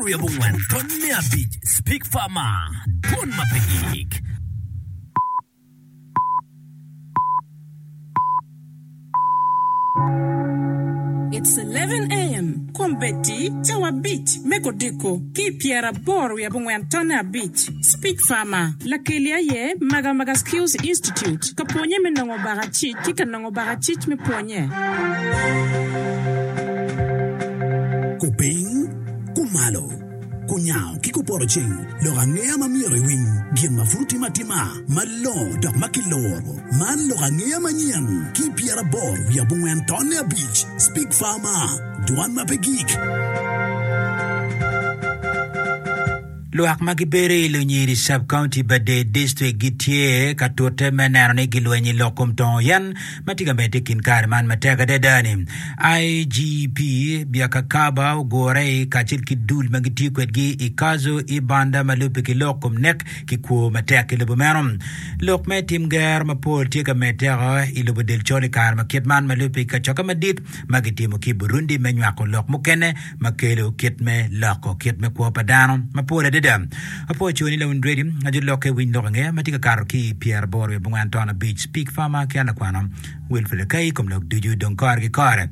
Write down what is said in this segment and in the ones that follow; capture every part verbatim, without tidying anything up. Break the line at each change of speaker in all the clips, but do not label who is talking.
pyeraboro wiye abongwen tonne abic Speak Farmer dwon ma pe gik.
It's eleven AM, Kombeddi cawa abic me kodiko ki i pyeraboro wiye abongwen tonne abic. Speak Farmer, Lakeli aye Magamaga Skills Institute ka pwonye me nongo bakacic ki ka nongo bakacic me pwonye.
Kupiny, kumalo, kunyango ki kupoto ceng, lok angeya ma myero iwiny, gin ma pud otime atima, malongo dok ma kiloro. Man lok angeya manyen ki pyeraboro wiye abongwen tonne abic. Speak Farmer, dwan ma pe gik.
Lwak ma gibedo i Lunyiri Sub-County, Badee District gitye ka tute me neno ni gilwenyo i lok kom tongo yen ma tye ka medde i kin kare man matek adada-ni. IGP Byakakaba ogure i kacel ki dul ma gitiyo kwedgi i Kazo Ibanda ma lubbe ki lok kom nek ki kwo matek i lobo meno. Lok me tim gero mapol tye ka meddeo i lobo del col i kare ma kit man ma lubbe ki kacokke madit ma gitimo ki i Burundi me nywako lok mukene ma kelo kit me loko kit me kwo pa dano mapol adada. Apwoyo coni lawiny redio ajo lokke winy lok angeya ma tye ka kato ki i pyeraboro wiye abongwen ton abic Speak Farmer ki an lakwano Wilfred Akai i kom lok ducu dong kore ki kore.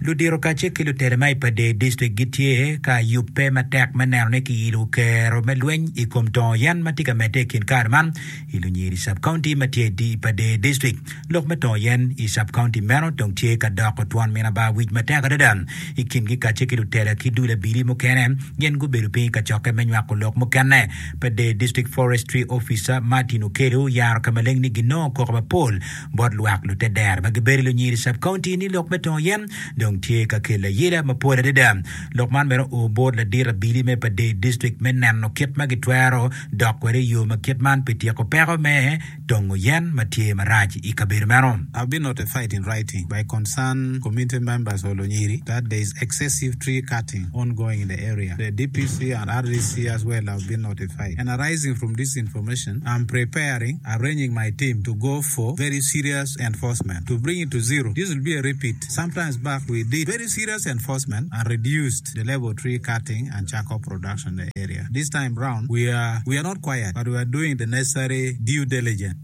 Ludito kacel ki lutela ma i Padee District gitye ka yubbe matek me neno ni kiyilo kero me lweny i kom tongo yen ma tye ka medde i kin kare man i Lunyiri Sub-County ma tye i Padee District. Lok me tongo yen i sub-county meno dong tye ka doko twon min abar wic matek adada. I kingi kacel ki lutela ki dul abili mukene, gin gubedo piny i kacokke me nywako lok mukene. Padee District Forestry Officer Martin Okello oyaro ka maleng ni ginongo koko mapol bot lwak lutedero ma gibedo i Lunyiri Sub-County ni lok me tongo yen dong tye ka kelo ayela mapol adada. Lok man bene oo bot ladit abili me Padee District me neno kit ma gitwero dok kwede i yo ma kit man pi tyeko peko me tongo yen ma tye marac i kabedo meno.
I've been notified in writing by concerned community members of Lunyiri that there is excessive tree cutting ongoing in the area. The D P C and R D C as well have been notified. And arising from this information, I'm preparing, arranging my team to go for very serious enforcement to bring it to zero. This will be a repeat. Sometimes back we did very serious enforcement and reduced the level of tree cutting and charcoal production in the area. This time round, we are, we are not quiet, but we are doing the necessary due diligence.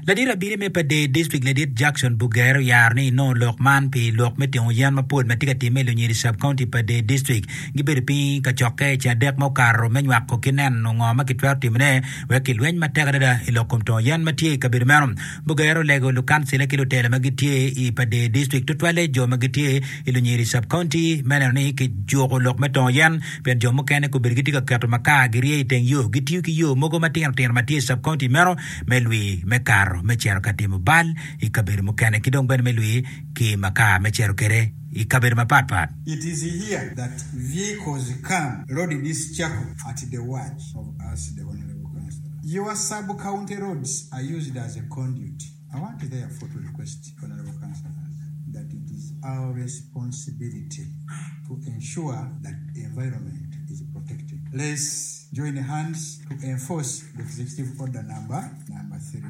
Ladit abili me Padee District Ladit Jackson Bugere oyaro ni inongo lok man pi lok me tingo yen mapol ma tye ka timme i Lunyiri Sub-County Padee District. Gibedo piny ka cokke i ceng adek ma okato me nywako ki neno ngo ma kitwero timone wek kilweny matek adada i lok kom tongo yen ma tye i kabedo meno. Bugere olego lukancila ki lutela ma gitye i Padee District tutwalle jo ma gitye i Lunyiri Sub-County me neno ni kijuko lok me tongo yen pien jo mukene kobedo gitye ka keto makar girye i teng yo gitiyo ki yo mogo matino tino ma tye i sub-county meno me lwi me kato me cito ka timo bal i kabedo mukene ki dong bene me lwi ki makar me cito kwede i kabedo mapatpat.
It is here that vehicles come load this charcoal at the watch of us the honourable councillor. Your sub county roads are used as a conduit. I want therefore to request honourable councillors that it is our responsibility to ensure that the environment is protected. Let's join hands to enforce the executive order number number three.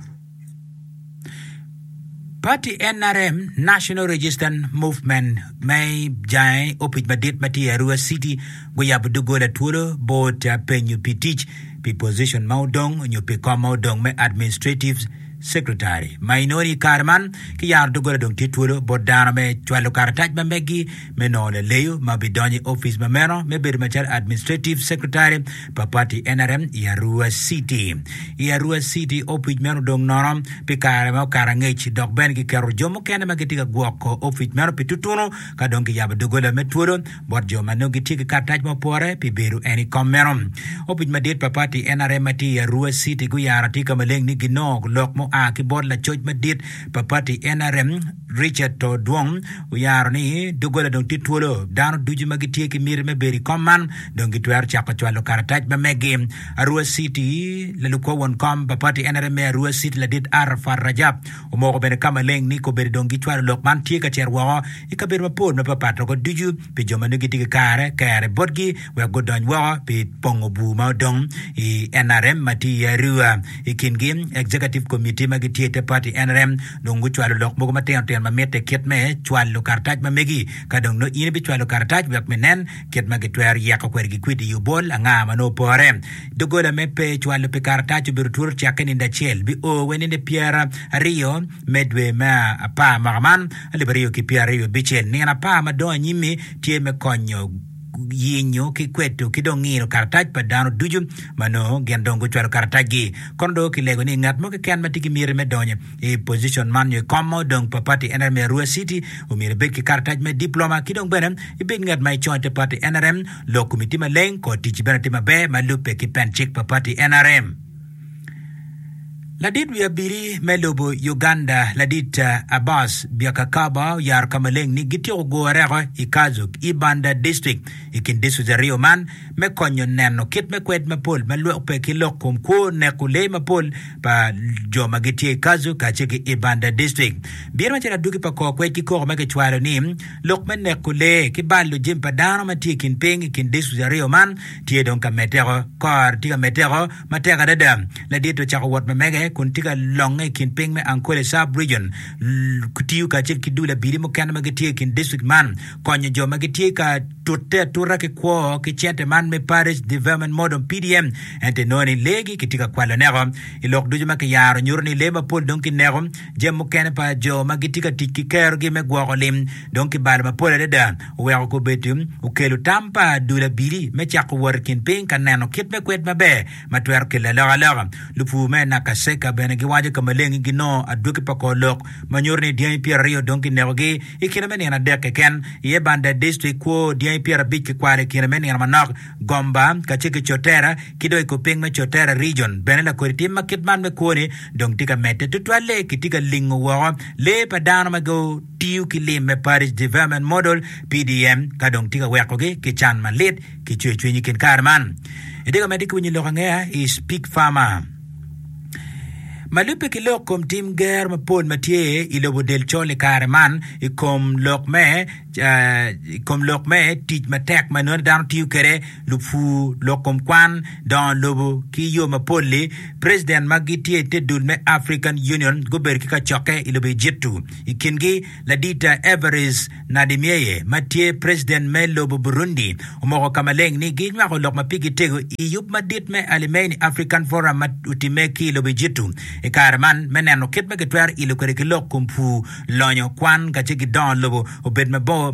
Party N R M, National Resistance Movement, me jange opic madit ma tye i Arua City guyabo doggola twolo bot penyo pi tic pi position ma odong nyo pi kom ma odong me administrative secretary ma inongo ni i kare man ki yaro doggola dong tye twolo bot dano me cwalo karatac ma megi me nongo laleyo ma bidonyo i opic ma meno me bedo macalo administrative secretary pa party N R M i Arua City. I Arua City opic meno dong nono pi kare ma okato angec dok bene kiketo jo mukene ma gitye ka gwoko opic meno pi tutunu ka dong kiyabo doggola me twolo bot jo ma nongo gitye ki karatac ma opore pi bedo en i kom meno. Opic madit pa party N R M ma tye i Arua City guyaro atika maleng ni ginongo lok mua ki bot lacoc madit pa party N R M Richard Todwong oyaro ni doggola dong tye twolo dano ducu ma gitye ki miti me bedo i kom man dong gitwero cako cwalo karatac ma megi. Arua City lalukwo won kom pa party N R M me Arua City ladit Arafat Rajab omoko bene ka maleng ni kobedo dong gicwalo lok man tye ka cito woko i kabedo mapol mapapat woko ducu pi jo ma nongo gitye ki kare kere botgi wek gudony woko pi pongo bur ma odong i N R M ma tye i Arua. I kingi, Executive Committee ma gitye i te party N R M dong gucwalo lok mogo matino tino gin ma mitte kit me cwalo karatac ma megi. Ka dong nongo in ibicwalo karatac wek me nen kit ma gitwero yeko kwede ki kwidi i obol anga ma nongo opore. Doggola me pe cwalo pi karatac obedo twolo cakke nindo acel bio wa nindo pyera aryo me dwe me apar mwaka man alip aryo ki pyera aryo abicel. Nino apar ma dong anyim-mi tye me konyo yenyo ki kweto ki dong ngino karatac pa dano ducu ma nongo gin dong gucwalo karatacgi. Kono dong kilego ni ngat mo keken ma tye ki miti me donyo i position man nyo i kom ma odong pa pati N R M i Arua City omyero ibed ki karatac me diploma ki dong bene ibed ngat ma icongo i te pati N R M, lok komi tye maleng kor ticci bene tye maber ma lubbe ki pen cik pa pati N R M. Ladit wi abili me lobo Uganda ladit Abbas Byakakaba oyaro ka maleng ni gityeko gure oko i Kazuk, Ibanda District i kin districts aryo man me konyo neno kit me kwed mapol ma lwok ki lok kom kwo neko lee mapol pa jo ma gitye i Kazuk kacel ki Ibanda District. Bino macalo adwogi pa kor kwed ki koko ma kicwalo ni lok me neko lee ki balo jami pa dano ma tye i kin piny i kin districts aryo man tye dong ka medde oko kor tye ka medde oko matek adada. Ladit ocako wot ma mege kun tye ka longe i kin piny me Ankole Sub-Region tiyo kacel ki dul abili mukene ma gitye i kin district man konyo jo ma gitye ka tutte atuta ki kwo ki cente man me Parish Development Model P D M ento inongo ni leegi kitye ka kwalo neko. I lok ducu ma kiyaro nyuto ni lee mapol dong kineko, jami mukene pa jo ma gitye ka tic ki kerogi me gwoko lim dong kibalo mapol adada oweko kobedo okelo tam pa dul abili me cako wot i kin piny ka neno kit me kwed maber ma twero kelo alokaloka. Lupur me Nakaseka bene giwaco ka maleng ni ginongo adwogi pa kor lok ma nyuto ni dyangi pyeraryo dong kinekogi i kine me nino adek keken. I Ibanda District kwo dyangi pyerabic kikwalo i kine me nino manok. Gomba kacel ki Cotera ki dong i kor piny me Cotera Region bene lakodi tim ma kit man me kwo-ni dong tye ka medde tutwalle kitye ka lingo woko lee pa dano ma gitiyo ki lim me Parish Development Model P D M ka dong tye ka wekogi ki can malit ki cwercwiny i kin kare man. Itye ka medde ki winyo lok angeya i Speak Farmer. Ma lubbe ki lok kom tim gero mapol ma tye i lobo del col i kare man i kom lok me i kom lok me tic matek ma nongo dano tiyo kwede lupur lok kom kwan dongo lobo ki yo mapol-li president ma gitye i te dul me African Union gubedo ki kacokke i lobo Egyptu i kingi ladita Evariste Ndayishimiye ma tye president me lobo Burundi omoko ka maleng ni ginywako lok ma pigi tego i yub madit me Alimeni African Forum ma otimme ki i lobo Egyptu i kare man me neno kit ma gitwero ilo kwede ki lok kom pur lonyo kwan kacel ki dongo lobo obed mabor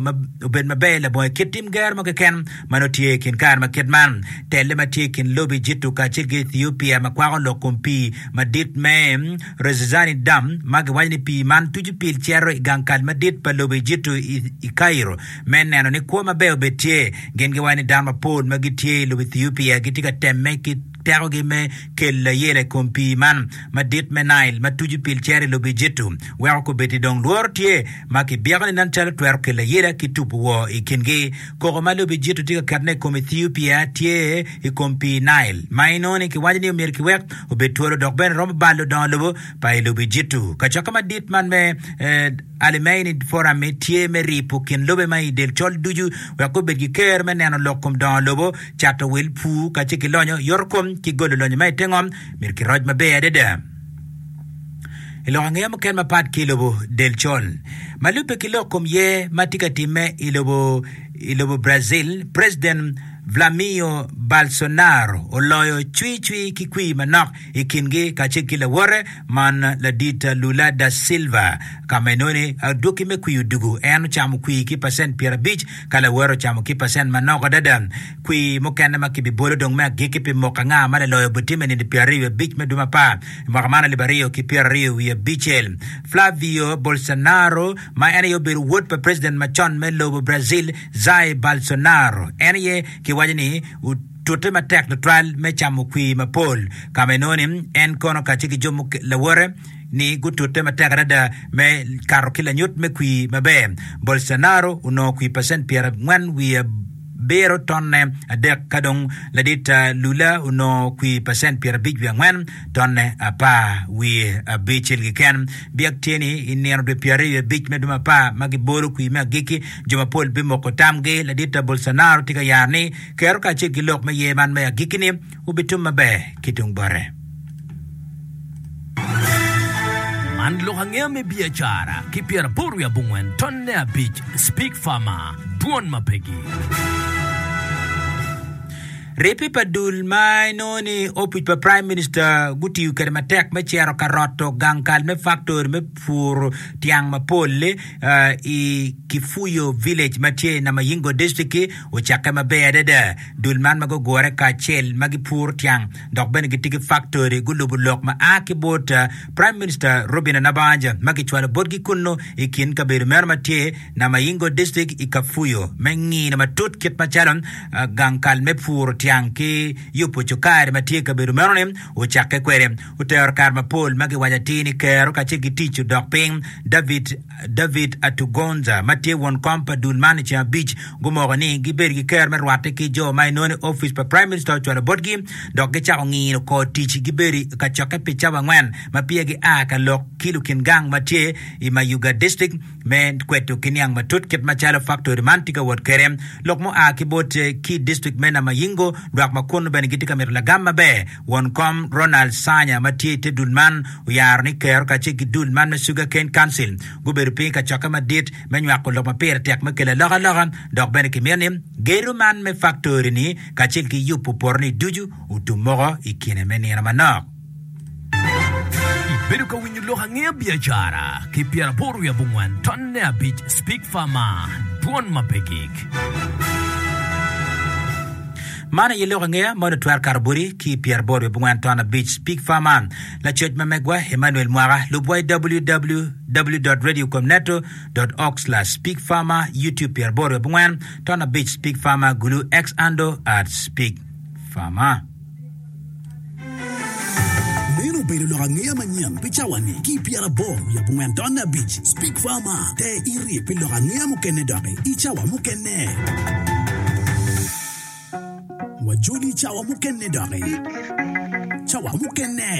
obed maber labongo kit tim gero mo keken ma nongo tye i kin kare ma kit man. Telle ma tye i kin lobo Egyptu kacel ki Ethiopia ma kwako lok kom pii madit me Rezazani Dam ma giwaco ni pii man tuco pil cito i gang kal madit pa lobo Egyptu i Cairo me neno ni kwo maber obed tye. Gin giwaco ni dano mapol ma gitye i lobo Ethiopia gitye ka temme ki tekogi me kelo layela i kom pii man madit me Nile ma tuco pil cito i lobo Egyptu weko kobedi dong lworo tye ma kibyeko ni nen calo twero kelo layela ki tubo woo i kingi. Koko ma lobo Egyptu tye ka ketone i kom Ethiopia tye i kom pii Nile ma inongo ni kiwaco ni omyero kiwek obed twolo dok bene romo balo dongo lobo pa i lobo Egyptu. Kacokke madit man me eh, Alimeni Forum tye me ripo kin lobe ma i del col ducu wek gubed ki ker me neno lok kom dongo lobo, cato wil, pur kacel ki lonyo, yoto kom ki golo lonyo ma i te ngom myero kiroc maber adada. I lok angeya mukene mapat ki i lobo del col ma lubbe ki lok kom ye ma tye ka timme i lobo i lobo Brazil, President Vladimir Bolsonaro oloyo cwi cwi ki kwir manok i kingi kacel ki lawote man ladit Lula da Silva ka ma inongo ni adwogi me kwir odugu en ocamo kwir ki pacent pyerabic ka lawote ocamo ki pacent manok adada. Kwir mukene ma kibibolo dong me agikki pi moko anga ma laloyo obitimme nino pyeraryo wiye abic me dwe apar i mwaka man alip aryo ki pyeraryo wiye abicel. Flavio Bolsonaro ma en aye obedo wod pa president macon me lobo Brazil Jair Bolsonaro en aye kiwaco ni otute matek tutwal me camo kwir mapol ka ma inongo ni en kono kacel ki jo lawote ni gutute matek adada me kato ki lanyut me kwir maber. Bolsonaro onongo kwir pacent pyerangwen wiye abiro tonne adek ka dong ladit Lula onongo kwir pacent pyerabic wiye angwen tonne apar wiye abicel keken. Byek tye ni i nino dwe pyeraryo wiye abic me dwe apar ma gibolo kwir me agikki jo mapol bimoko tamgi. Ladit Bolsonaro tye ka yaro ni kero kacel ki lok me ye man me agikki ni obitum maber ki tung bote.
Man lok angeya me biacara ki pyeraboro wiye abongwen tonne abic Speak Farmer, Dwon ma pegi.
Ribbe pa dul ma inongo ni opic pa Prime Minister gutiyo kwede matek me cito ka roto gang kal me faktori me puro tyang mapol i Kifuyo Village ma tye i Namayingo District-ki ocakke maber adada. Dul man ma gugure kacel ma gipuro tyang dok bene gitye ki faktori gulubo lok ma a ki bot Prime Minister Robinah Nabbanja ma kicwalo botgi kunnu i kin kabedo meno ma tye Namayingo District i Kafuyo me ngino matut kit macalo gang kal me puro tyang ki yubo cukari ma tye i kabedo meno-ni ocakke kwede. Otero kare mapol ma giwaco atir ni kero kacel ki tic odok piny. David David Atugonza ma tye won kom pa dul man i ceng abic gumoko ni gibedo ki kero me rwatte ki jo ma inongo ni opic pa Prime Minister ocwalo botgi dok gicako ngino kor tic gibedo i kacokke pi cawa angwen ma peya gia ka lok ki lukin gang ma tye i Mayuga District me kweto ki niang matut kit macalo faktori man tye ka wot kwede. Lok mua ki bot ki district me Namayingo, lwak ma kunnu bene gitye ka mito lagam maber. Won kom Ronald Sanya ma tye i te dul man oyaro ni kero kacel ki dul man me Sugar Cane Council gubedo piny i kacokke madit me nywako lok ma pire tek me kelo alokaloka dok bene kimito ni gedo man me faktori-ni kacel ki yubo poto-ni ducu otum moko i kine me nino manok.
Ibedo ka winyo lok angeya biacara ki pyeraboro wiye abongwen tonne abic Speak Farmer, Dwon ma pe gik.
Man aye lok angeya ma onongo twero kato boti ki pyeraboro wiye abongwen ton abic Speak Farmer. Lacoc ma megwa Emmanuel Mwaka. Lubwa i www dot radio komneto dot org slash speak farmer YouTube pyeraboro wiye abongwen ton abic Speak Farmer Gulu X Ando at Speak Farmer.
Meno obedo lok angeya manyen pi cawa-ni ki i pyeraboro wiye abongwen tonne abic. Speak Farmer, Ter iri pi lok angeya mukene doki i cawa mukene. Wajoli i cawa mukene doki. Cawa mukene.